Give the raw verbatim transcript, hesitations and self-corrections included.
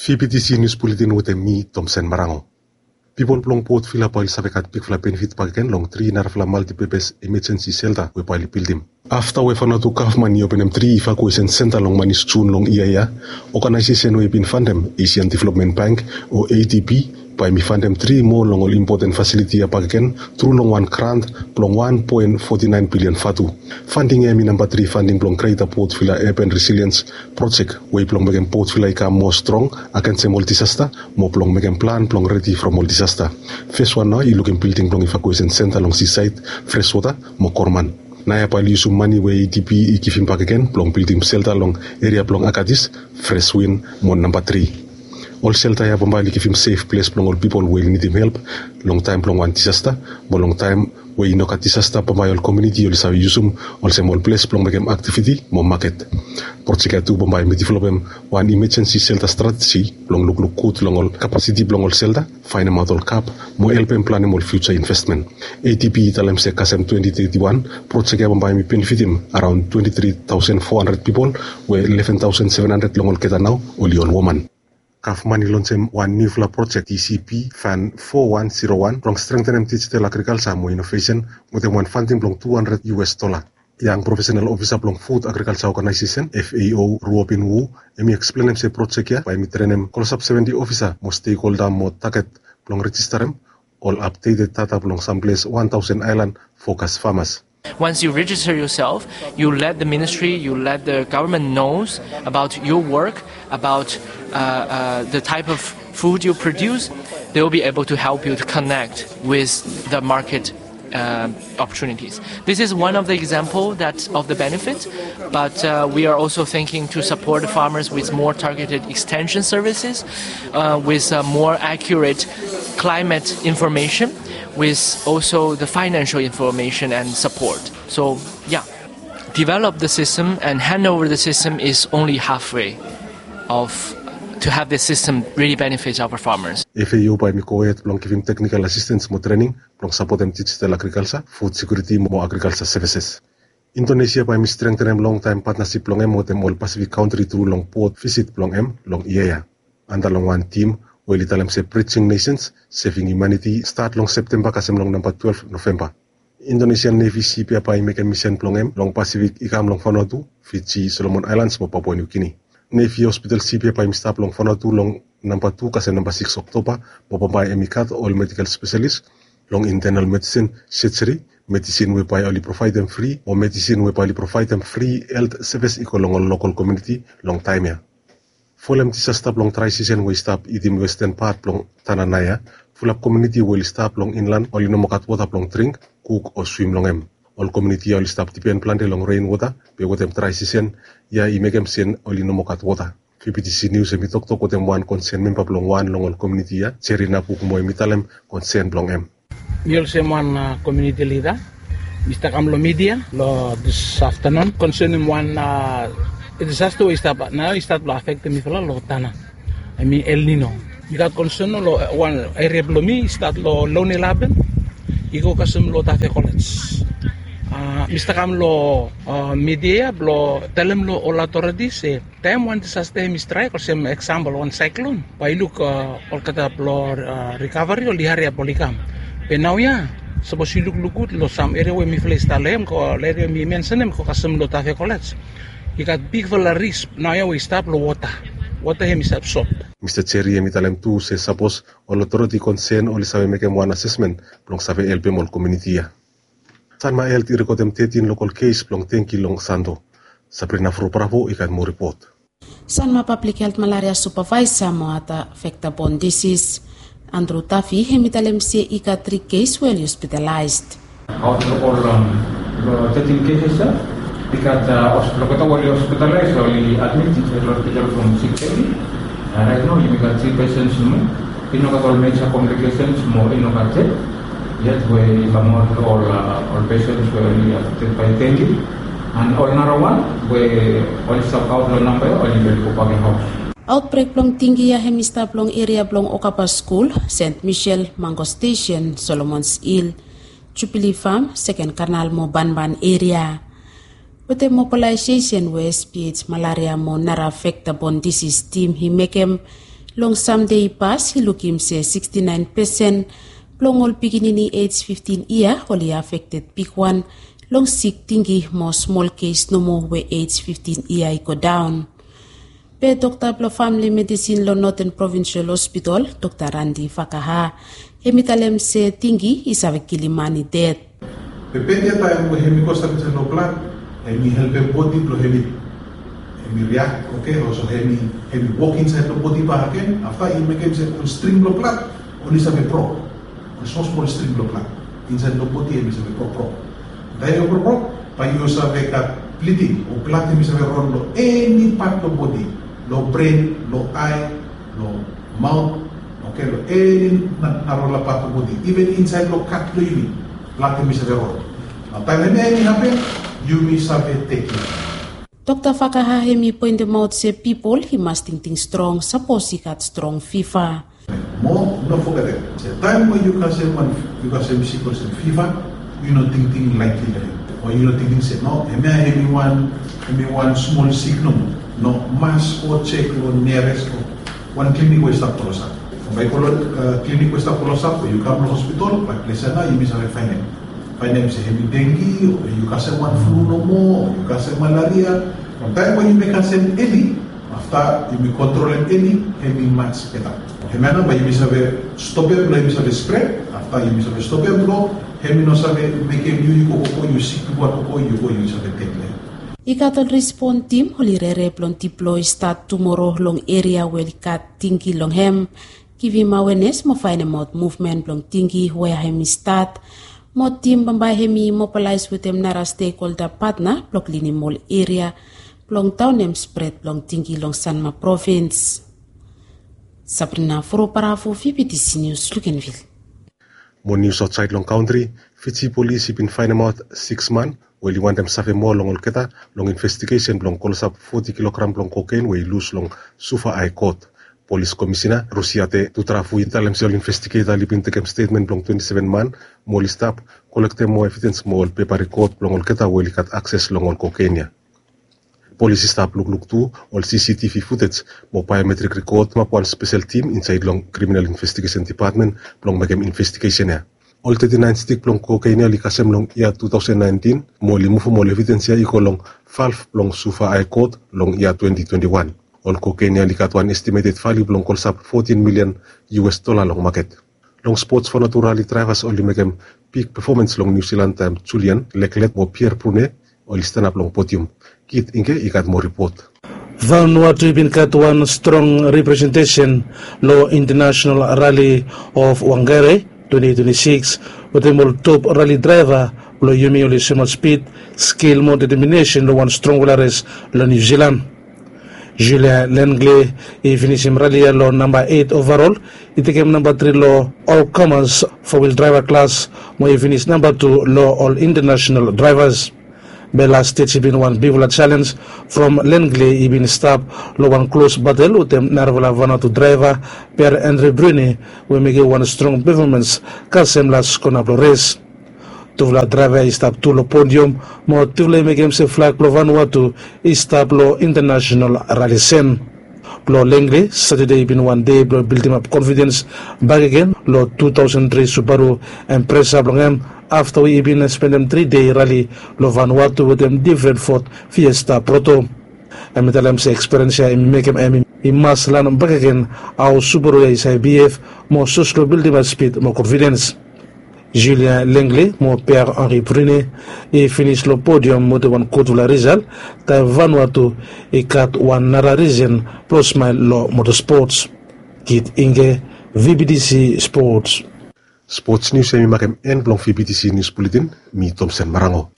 P P T C News Bulletin wetem mi, Tomsen Marango. Pipol blong Port Vila bae oli save gat bigfala benefit bakegen long tri narafala multipurpose emergency shelter we bae oli bildim. Afta we Vanuatu gavman i openem tri evacuation center long manis Jun long yia ya, oganaesesen we i bin fandem, Asian Development Bank, o A D B, bae hemi fandem tri moa long ol impoten fasiliti ya bakegen tru long wan grant blong wan poen foti naen bilion vatu. Fanding ya hemi namba tri fanding blong Greater Port Vila Urban Resilience Project, we blong mekem Port Vila i kam moa strong agensem ol disasta, mo blong mekem plan blong redi from ol disasta. Fes wan nao i lukim bilding blong evacuation center long seaside, Freshwater mo Koroman. Naoia bae oli yusum mane we A D B i givim bakegen blong bildim shelter long eria blong Agatis, Freshwin mo namba tri. Ol shelter ya bambae oli givim sef ples blong ol pipol we oli nidim help long taem blong wan disasta, mo long taem we i no gat disasta bambae ol komuniti oli save yusum olsem ol ples blong mekem aktiviti mo maket. Projek ya tu bambae hemi developem wan emergency shelter strateji blong lukluk gud long ol kapasiti blong ol shelter, faenemaot ol gap, mo helpem planem ol future investment. A D B i talem se kasem twenty thirty-one, projek ya bambae hemi benefitim araon twenty three thousand four hundred pipol, we eleven thousand seven hundred long olgeta nao oli ol woman. Gavman i lonsem wan niufala projek, T C P Fund four one zero one, blong strengtenem digital agrikalsa mo inovesen wetem wan fanding blong two hundred U S dola. Yang profesenal ofisa blong Food Agriculture Organization, F A O, Ruobin Wu, hemi eksplenem se projek ya bae hemi trenem klosap seventy ofisa mo stekholda mo taget blong rejistarem ol apdeted data blong samples one thousand aelan fokas famas. Once you register yourself, you let the ministry, you let the government knows about your work, about uh, uh, the type of food you produce. They will be able to help you to connect with the market uh, opportunities. This is one of the example that of the benefit, but uh, we are also thinking to support the farmers with more targeted extension services, uh, with uh, more accurate climate information, with also the financial information and support. So, yeah, develop the system and hand over the system is only halfway of to have the system really benefit our farmers. F A O bae hemi gohed blong givim technical assistance mo trening blong sapotem digital agrikalsa, food security mo agrikalsa services. Indonesia bae hemi strengtenem longtaem patnasip blong hem wetem ol Pasifik kantri tru long port visit blong hem long yia ya. Anda long wan tim we oli talem se Bridging Nations, Saving Humanity, stat long Septemba kasem long namba twelve Novemba. Indonesian Navy sip ya bae i mekem misen blong hem long Pasifik i kam long Vanuatu, Fiji, Solomon Islands mo Papua New Guinea. Navy hospital sip ya bae hemi stap long Vanuatu long namba tu kasem namba sikis Oktoba, mo bambae hemi gat ol medikal spesialis long internal medicine, surgery, medicine we bae oli provaedem fri, o medicine we bae oli provaedem fri helt sevis i go long ol lokol komuniti long taem ya. Folem disasta blong drae sisen we i stap itim westen pat blong Tanana ya, fulap komuniti we oli stap long inlan oli no moa gat wota blong dring, kuk o swim long hem. Ol komuniti ya oli stap dipen plante long ren wota, be wetem drae sisen ya i mekem se oli no moa gat wota. V P T C News hemi toktok wetem wan konsen memba blong wan long ol komuniti ya, Jerry Nabuk, mo hemi talem konsen blong hem. Mi olsem wan komuniti lida, mi stap kam long midia long dis aftanun konsenem wan disasta we i stap nao i stat blong afektem mifala long Tanana. Hemi El Nino. Mi gat konsen long wan eria blong mi i stat long Lone Laben i go kasem long Tafe Kolej. Mi stap kam long midia ya blong talem long ol authorities se taem wan disasta hemi straek olsem eksampol wan saeklon, bae yu luk olgeta blong rikaveri oli hariap oli kam. Be naoia sapos yu lukluk gud long sam eria we mifala i stap long hem, ol eria mi mensenem i go kasem long Tafe Kolej, i gat bigfala risk naoia we i stap long wota. Wota hemi stap sot. Mista Jerry hemi talem tu se sapos ol otoriti konsen oli save mekem wan asesmen blong save helpem ol komuniti ya. Sanma Helt i rekodem tetin lokol kes blong denki long Santo. Sabrina Fro Bravo i gat moa ripot. Sanma Public Health Malaria Supervisor mo ada vector-borne disease, Andrew Duffy, hemi talem se i gat tri kes we oli hospitalaes. Out of all, um, the thirteen cases, uh, i gat, uh, hos-, olgeta we oli hospitalaes, oli admit insaed long hospital from six thirty. Uh, right now, yumi gat three patients nomo. I no gat ol major complications mo i no gat death yet we i kamaot long ol, uh, ol patients we oli affected by dengue. And ol narawan we oli stap aot long namba ya, oli bin gobak long haos. Aotbrek blong dengue ya hemi stap long eria blong Okaba Skul, Saint Michel, Mango Station, Solomons Hill, Jubilee Farm, Seken Kanal mo Banban eria. Wetem mobilaesesen we S P H malaria mo nara vector-borne disease tim i mekem, Long sam dei i pas i lukim se sikstinaen pesen blong ol pikinini ej fiftin yia oli afekted bigwan long sik tinggi mo smol kes nomo we ej fiftin yia i go daon. Be dokta blong famili medisin long Noten Provinsial Hospital, Dokta Randi Fakaha, hem i talem se tinggi i save kilim man i ded. Be bad ya taem we hem i go stap insaed long blad, hem i helpem bodi blong hem i, hem i riak, oke, olsem hem i, hem i wok insaed long bodi bakegen, afta i mekem se ol string blong blad oli save brok. Ol smol smol string blong blad insaed long bodi hem i save brok brok. Taem yu brok brok, bae yu save gat bliding o blad hem i save ron long eni pat blong bodi, long bren, long ae, long maot, oke, long eni na, narafala pat blong bodi, iven insaed long kat blong yumi, blad hem i save ron. Nao taem hemia hem i hapen, yumi save tekem. Dokta Fakaha hem i poentemaot se pipol i mas tingting strong sapos i gat strong fiva. Mo no fogetem se taem we yu kasem wan, yu kasem sik olsem fiva, yu no tingting laetli long hem. O yu no tingting se no, hemia hem i wan, hem i wan smol sik nomo. No, mas go jek long niares o wan klinik we i stap klosap. Bae yu go long, a, klinik we i stap klosap o yu kam long hospital, bae ples ya nao yumi save faenem. Faenem se hem i dengi, o yu kasem wan flu nomo, o yu kasem malaria. From taem we yumi kasem eli, afta yumi kontrolem eli, hem i maj beta. Hemia nao bae yumi save stopem blong hem i save spred, afta yumi save stopem blong hem i no save mekem yu, yu go, go, go, yu sik, yu go, go, go, yu go, yu save ded long hem. I gat ol rispon tim oli rere blong diploi stat tumoro long eria we oli gat tinggi long hem, givim awenes mo faenemaot muvmen blong tinggi wea hem i stat. Mo tim bambae hem i mobalaes wetem nara stekholda patna blong klinim ol eria blong daonem spred blong tinggi long Sanma Provins. Sabrina Furupara fo V B T C News, Luganville. Mo nius aotsaed long kantri, Fiji polis i bin faenemaot siks man we oli wantem save moa long olgeta long investigesen blong klosap foti kilogram blong koken we i lus long Suva Ae Kot. Polis Komisina Rusiate Tutrafu i talem se ol investigeta oli bin tekem stetmen blong twenti seven man mo oli stap kolektem moa evidens mo ol pepa rikod blong olgeta we oli gat akses long ol koken ya. Polis i stap lukluk tu ol C C T V futej mo baeometrik rikod, kamap wan spesel tim insaed long Kriminal Investigesen Dipatmen blong mekem investigesen ya. Ol teti naen stik blong koken ya oli kasem long yia tu taosen naentin, mo oli muvum ol evidens ya i go long valv blong Suva Ae Kot long yia twenti twenti wan. Ol koken ya oli gat wan estimeted valiu blong klosap fotin milian U S dola long maket. Long spots, Vanuatu rali draevas oli mekem big pefomans long Niu Silan taem Julian Leklet mo Pierre Brune oli stanap long podium. Kit Ingke i gat moa ripot. Vanuatu i bin gat wan strong representesen long International Rally of Whangarei twenti twenti sikis, wetem ol top rali draeva blong yumi oli soemaot spid, skil mo deteminesen long wan strongfala res long Niu Silan. Julien Lenglet i finisim rali ya long namba eit ovarol, i tekem namba tri long ol komas fo wil draeva klas, mo i finis namba tu long ol intanasenal draevas. Be las stej i bin wan bigfala jalenj from Lenglet i bin stap long wan klos batel wetem narafala Vanuatu draeva, Pierre Andre Brune, we i mekem wan strong pefomans kasem las kona blong res. Tufala draeva i stap tu long podiam, mo tufala i mekem se flag blong Vanuatu i stap long intanasenal rali sen. Blong Lenglet, Satade i bin wan dei blong bildimap konfidens bakegen long tu taosen tri Subaru Impreza blong hem, afta we i bin spendem tri dei rali long Vanuatu wetem difren Ford Fiesta Proto. Hem i talem se ekspiriens ya i mekem hem i mas lanem bakegen hao Subaru ya i save bihef mo sos long bildimap spid mo konfidens. Julien Lenglet mo Pierre Henri Brune i finis long podiam wetem wan gudfala risal, taem Vanuatu i gat wan nara risen blong smael long motosports. Kit Ingke, V B T C Sports. Spots nius ya i makem en blong V B T C Nius Buletin. Mi Tomsen Marango.